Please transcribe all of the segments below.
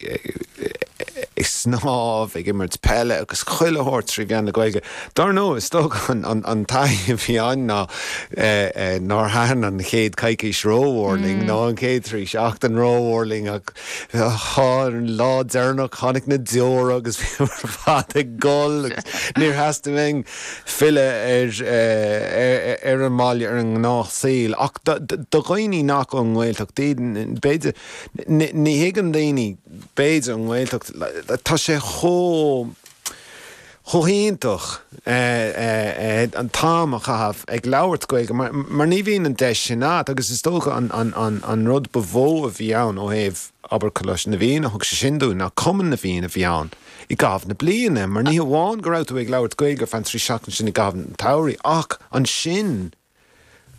ag snámh, ag imirt peile agus chuile shórt trí mheán na Gaeilge. Dar ndóigh, is dócha an taithí a bhí ann ná nár thaitin an chéad coicís rómhór linn, nó an chéad trí seachtain rómhór linn ach ar an lá deireanach tháinig na deora agus bhíomar ar fad ag gol agus níor theastaigh uainn filleadh ar an mbaile, ar an ngnáthshaol. Ach do dhaoine nach ón nGaeltacht iad, b'fhéidir, ní thuigeann daoine, b'fhéidir, an nGaeltacht, tá sé chomh, chomh hiontach an t-am a chaitheamh ag labhairt Gaeilge mar ní bhíonn an deis sin agat agus is dócha an rud ba mhó a bhí ann ó thaobh, abair, Coláiste na bhFiann a thug sé sin dúinn ná Cumann na bhFiann a bhí ann i gcaitheamh na bliana mar ní hamháin go raibh tú ag labhairt Gaeilge ar feadh an trí seachtain sin i gcaitheamh an tsamhraidh ach ansin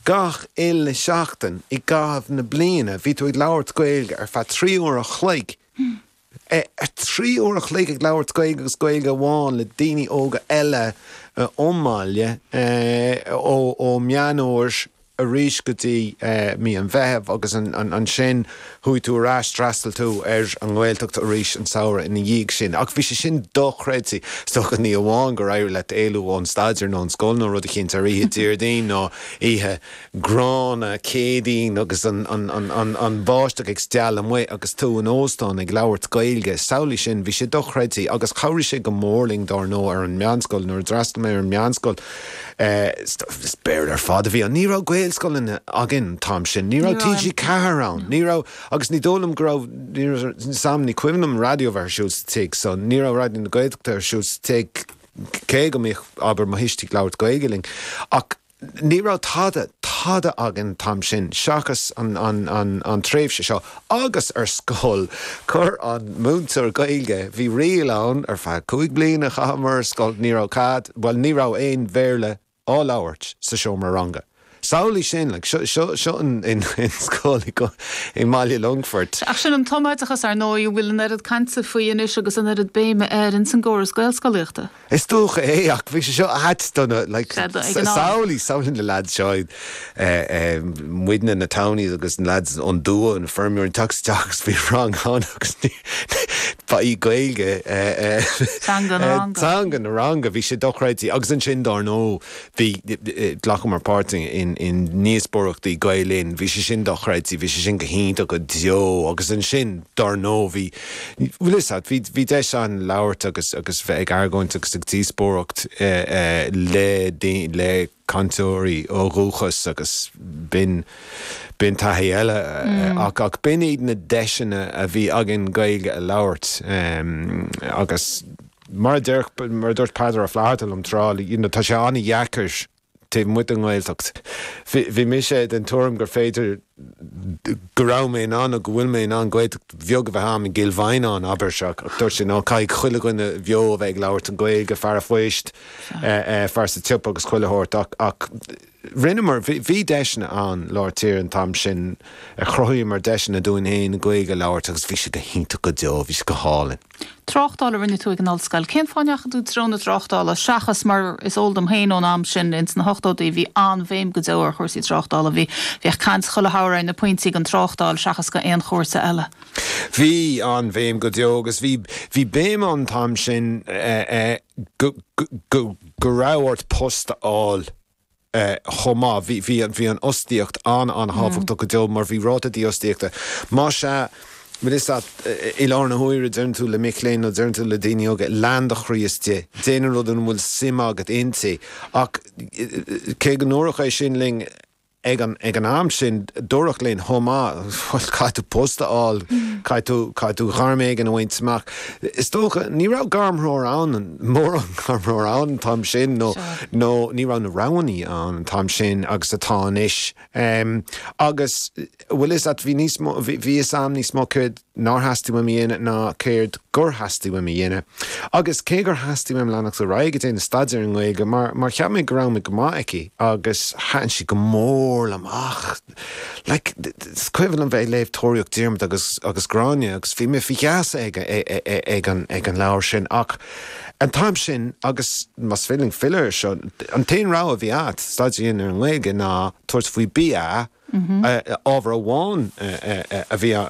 gach uile seachtain i gcaitheamh na bliana bhí tú ag labhairt Gaeilge ar feadh 3 uair a chloig. 3 uair a chloig ag labhairt Gaeilge agus Gaeilge amháin le daoine óga eile ón mbaile ó Meán Fhómhair arís go dtí mí an Mheithimh agus ansin chuaigh tú ar ais, d'fhreastail tú ar an nGaeltacht arís an samhradh ina dhiaidh sin. Ach bhí sé sin dochreidte. Is dócha ní amháin gur éirigh leat éalú ón staidéar nó an scoil nó rud eicínt ar oíche Déardaoin nó oíche gránna Céadaoin agus an bháisteach ag stealladh amuigh agus tú in óstán ag labhairt Gaeilge. Samhlaigh sin, bhí sé dochreidte agus chabhraigh sé go mór linn dár ndóigh ar an meánscoil. Nuair a d'fhreastail mé ar an meánscoil is Béarla ar fad a bhí ann. Ní raibh Gaelscoileanna againn an t-am sin. Ní raibh TG4 ann. Ní raibh, agus ní dóigh liom go raibh, ní raibh, sam, ní cuimhin liom raidió a bheith ar siúl sa tigh so ní raibh Raidió na Gaeltachta ar siúl sa tigh cé go mbíodh, abair, mo thuistí ag labhairt Gaeilge linn. Ach Ní raibh tada, tada againn an t-am sin seachas an, an, an, an tréimhse seo agus ar scoil chuir an múinteoir Gaeilge, bhí riail ann ar feadh 5 bliana a chaitheamar ar scoil, ní raibh cead, bhuel ní raibh aon Bhéarla á labhairt sa seomra ranga. Samhlaigh sin, like, seo, seo, seo an, in, in scoil i, i mBaile Longfoirt. Ach sin an tumoideachas ar ndóigh a bhfuil an oiread cainte faoi anois agus an oiread béime air ins an gcóras Gaelscolaíochta. Is dócha é, ach bhí sé seo ait do na, like, samhlaigh, samhlaigh na lads seo, muidne, na townies agus na lads ón dtuath, na feirmeoirí, ag teacht isteach agus bhí rang ann agus ní, ba í Gaeilge Teanga an ranga. Teanga an ranga, bhí sé dochreidte. Agus ansin, dár ndóigh, bhí, ghlacamar páirt in, in ndíospóireachtaí Gael Linn, bhí sé sin dochreidte, bhí sé sin go hiontach go deo. Agus ansin, dár ndóigh, bhí, Bhfuil fhios a't, bhí, bhí deis ann labhairt agus, agus bheith ag argóint agus ag díospóireacht le daoine, le cainteoirí ó dhúchas agus b'in, b'in taithí eile ach, ach b'in iad na deiseanna a bhí againn Gaeilge a labhairt agus mar a deir, mar a dúirt Peadar Ó Flatharta liom tráth, you know, tá sé an-dheacair taobh amuigh den nGaeltacht. Bhí mise den tuairim gur féidir, go raibh mé in ann nó go bhfuil mé in ann Gaeltacht bheag a bheith a'm i gCill Mhaighneáin, abair, ach dúirt sé, no, caithfidh chuile dhuine bheo a bheith ag labhairt an Ghaeilge, fear a phoist, fear sa tsiopa agus chuile shórt ach, ach rinneamar, bhí deiseanna ann lár tíre an t-am sin, chruthaíomar deiseanna dúinn féin Gaeilge a labhairt agus bhí sé go hiontach go deo, bhí sé go hálainn. Tráchtáil a rinne tú ag an ollscoil. Cén fáth a ndeachaigh tú i dtreo na tráchtála seachas mar is eol dom féin ón am sin ins na hochtóidí bhí an-bhéim go deo ar chúrsaí tráchtála. Bhí, bhíodh caint chuile shamhradh ar na pointí don tráchtáil seachas go aon chúrsa eile. Bhí an-bhéim go deo agus bhí, bhí béim ann an t-am sin go, go, go raibh ort post a fháil. chomh maith. Bhí, bhí, bhí an fhostaíocht an-an-thábhachtach go deo mar bhí ráta dífhostaíochta. Más ea, bhfuil fhios a't, i láthair na huaire deireann tú le mic léinn nó deireann tú le daoine óga, lean do chroí istigh, déan an rud ina bhfuil suim agat inti. Ach cé go ndúradh é sin linn ag an, ag an am sin, dúradh linn chomh maith, bhuel, caithfidh tú post a fháil, caithfidh tú, caithfidh tú gairm éigin a bhaint amach. Is dócha, ní raibh gairmthreoir ann, mórán gairmthreoir ann an t-am sin nó nó ní raibh na roghanna ann an t-am sin agus atá anois. Agus bhfuil fhios a't, bhí níos mó, bhí fhios a'm níos mó céard nár theastaigh uaim a dhéanamh ná céard gur theastaigh uaim a dhéanamh. Agus cé gur theastaigh uaim leanacht ar aghaidh ag déanamh staidéar i nGaeilge mar mar cheap mé go raibh mé go maith aici agus thaitin sí go mór liom ach Like, is cuimhin liom bheith ag léamh Tóraíocht Diarmaid agus agus Gráinne agus bhí mé faoi gheasa ag ag an ag an leabhar sin ach an t-am sin agus más féidir linn filleadh air seo, an t-aon rogha a bhí agat staidéar a dhéanamh ar an nGaeilge ná tabhairt faoi BA, ábhar amháin a bhí a.